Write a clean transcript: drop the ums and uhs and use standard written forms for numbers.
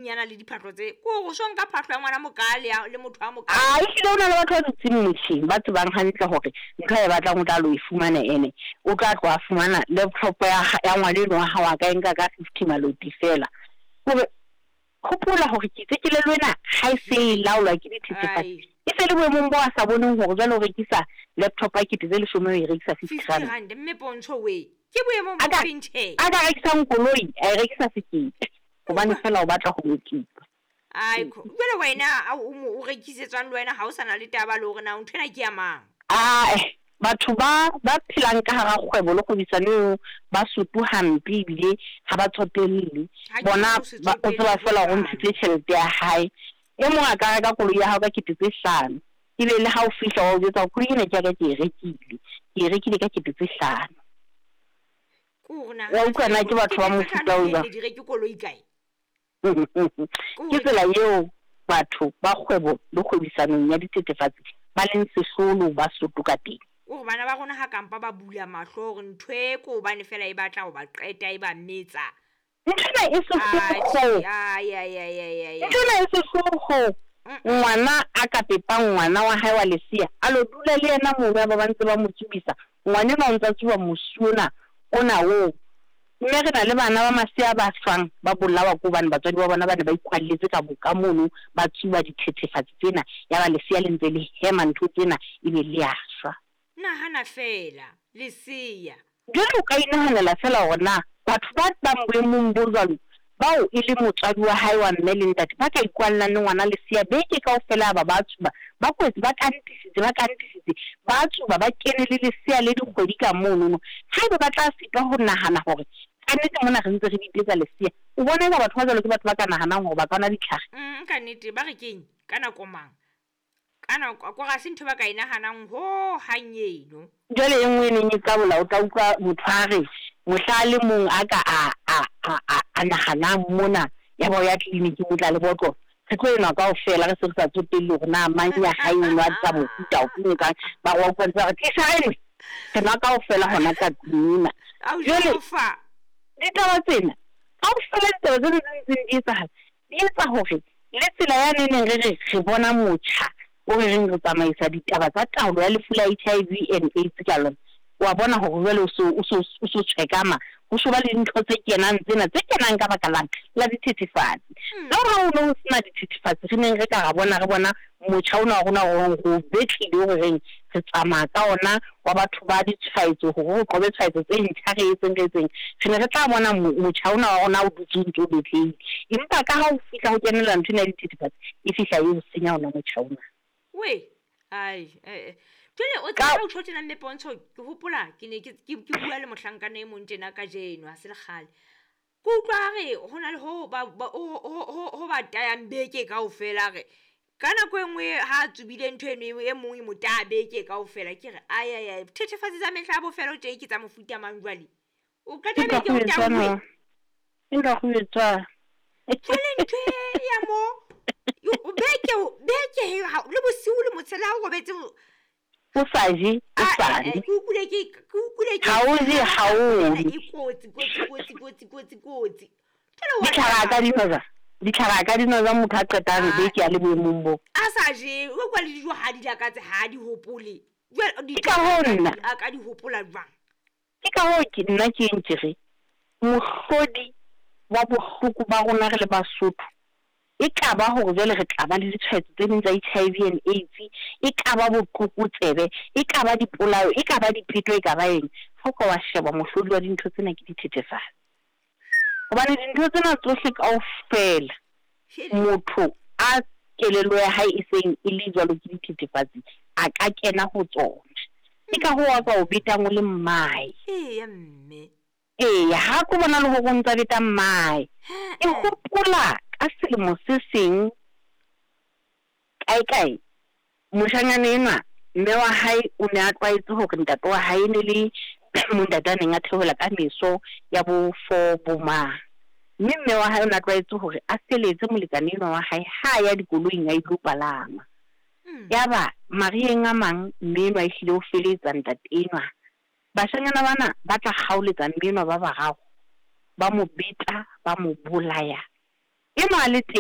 Nyana le diphahlo tse ko go so nka phahlo ya ngwana mokaa le le motho a mokaa. A ehlile ho na le batho ba dutseng motjheng ba tsebang hantle hore ntho a e batlang o tla lo e fumana ene o tla tloha a fumana laptop ya ya ngwana eno wa hao a ka e nka ka 50 maloti fela. Hore hopola hore ke itse kelello ena ha e se e laolwa ke dithethefatsi e se le boemong bo a sa boneng hore jwale o rekisa laptop ya kete tse leshome o e rekisa 50 rand. 50 rand mme Pontsho wee ke boemong bo feng tjhe? A ka rekisang koloi a e rekisa sekete. Hobane feela o batla ho mokipa. Aiko, jwale wena o mo o rekisetswang le wena ha o sa na le taba le hore na ntho ena ke ya mang? Ae, batho ba ba phelang ka hara kgwebo le kgwebisano eo ba soto hampe ebile ha ba tsotelle. Bona ba o tseba feela hore o ntshitse tjhelete ya hae. E mong a ka reka koloi ya hao ka kete tse hlano, ebe le ha o fihla wa o jwetsa hore koloi ena ke ya ka ke e rekile, ke e rekile ka kete tse hlano. Wa utlwa na ke batho ba mofuta o jwang? Ke tsela eo batho ba kgwebo le kgwebisanong ya dithethefatsi ba leng sehlolo ba soto ka teng. Kore bana ba rona ha kampa ba bula mahlo hore ntho e ke hobane fela e batla ho ba qeta e ba metsa. Ntho ena e sehloho. Ntho ena e sehloho. Ngwana a ka pepang ngwana wa hae wa lesea a lo dula le yena mono ya ba ba ntse ba mo tsubisa. Ngwana enwa o ntsa tsuba mosi ona ona oo. Mme re na le bana ba masea ba shwang ba bolawa ke hobane batswadi ba bona ba ne ba ikwalletse ka ka mono ba tsuba dithethefatsi tsena ya ba lesea le ntse le hema ntho tsena ebe le a shwa. Nahana feela, lesea. Jwale o ka inahanela feela hore na batho ba bang boemong bo jwalo bao e leng motswadi wa hae wa mme le ntate ba ka ikwallang le ngwana lesea beke kaofela yaba ba tsuba, ba kwetse, ba kantisitse, ba kantisitse, ba tsuba, ba kene le lesea le dikgwedi ka monono. Haeba ba tla sitwa ho nahana hore kannete mona re ntse re bipetsa lesea, o bona eka batho ba jwalo ke batho ba ka nahanang hore ba ka nwa ditlhare? Kannete, ba re keng? Ka nako mang? Ka nako, kore ha se ntho ba ka e nahanang ho hang eno. Jwale e nngwe e neng e qabola, o tla utlwa motho a re mohla a le mong a ka a a a a a nahanang mona, yaba o ya tleliniking o tla le botlolo, re tlo enwa kaofela re se re sa tsotelle hore na mang ya hae o nwa tsa mofuta ofe o etsang. Ba re wa utlwa ntse ba re tlisa re nwe, re nwa kaofela hona ka tlung ena. Jwale ditaba tsena kaofela, ditaba tsena tse ntseng di etsahala di etsa hore le tsela yane e neng re re re bona motjha o re reng re tsamaisa ditaba tsa taolo ya lefu la HIV and AIDS ka lona, wa bona hore jwale o so o so o so tshwekama, ho so ba le dintho tse kenang tsena tse kenang ka baka lang la dithethefatsi. Le hore ha ho ne ho sena dithethefatsi re neng re ka ra bona re bona motjha ona wa rona o reng re o betlile o re reng re tsamaya ka ona wa batho ba ditshwaetso hore re qobe tshwaetso tse ntjha re etseng re etseng, re ne re tla bona motjha ona wa rona o dutse o ntse o betlehile. Empa ka ha o fihla ho kenella ntho ena ya dithethefatsi, e fihla e o senya ona motjha ona. We, ai, eh, eh. Jwale o tseba o tjho tjena mme Pontsho, ke hopola ke ne ke ke bua le mohlankana e mong tjena kajeno, ha se le kgale. Ke utlwa a re ho na le ho ba ho ba tayang beke kaofela re ka nako e nngwe ha a tsubile ntho eno e mong e mo taya beke kaofela. Ke re ai ai ai, thethefatsi tsa mehla ya bofelo tje ke tsa mofuta mang jwale? O qeta beke o tauwe. Nka go etswa. Jwale ntho e ya mo beke beke le bosiu le motshela ha o robetse o sa je, o sa nwe. Ke utlwile ke ke utlwile ke Ha o je, ha o nwe. E kotsi kotsi kotsi kotsi kotsi kotsi. Ditlhare a ka di nwa jwang? Ditlhare a ka di nwa jwang motho a qetang beke a le boemong boo? A sa je, o kwa le dijo ha di lakatse, ha di hopole. Jwale Ke ka hoo nna. A ka di hopola jwang? Ke ka hoo ke nna ke eng ke re mohlodi wa bohloko ba rona re le Basotho e ka ba hore jwale re tla ba le ditshwaetso tse ding tsa HIV and AIDS, e ka ba botlokotsebe, e ka ba dipolao, e ka ba dipeto, e ka ba eng. Ha o ka wa sheba mohlodi wa dintho tsena ke dithethefatsi. Hobane dintho tsena tsohle kaofela motho a kelello ya hae e seng e le jwalo ke dithethefatsi a ka kena ho tsona. Ke ka hoo a ka o betang o le mmae. Eya mme. Eya, ha ko bona le hore o ntsa beta mmae. Ke hopola ka selemo se seng kae kae, moshanyana enwa mme wa hae o ne a tlwaetse hore ntate wa hae ne le montate a neng a theohela ka meso ya bo 4 bo mang. Mme mme wa hae o ne a tlwaetse hore a feletse molekane enwa wa hae ha a ya dikoloing a ilo palama. Yaba mariheng a mang mme enwa ehlile o feletsa ntate enwa. Bashanyana bana ba tla kgaoletsa mme enwa ba bararo, ba mo beta, ba mo bolaya. Enwa a le teng.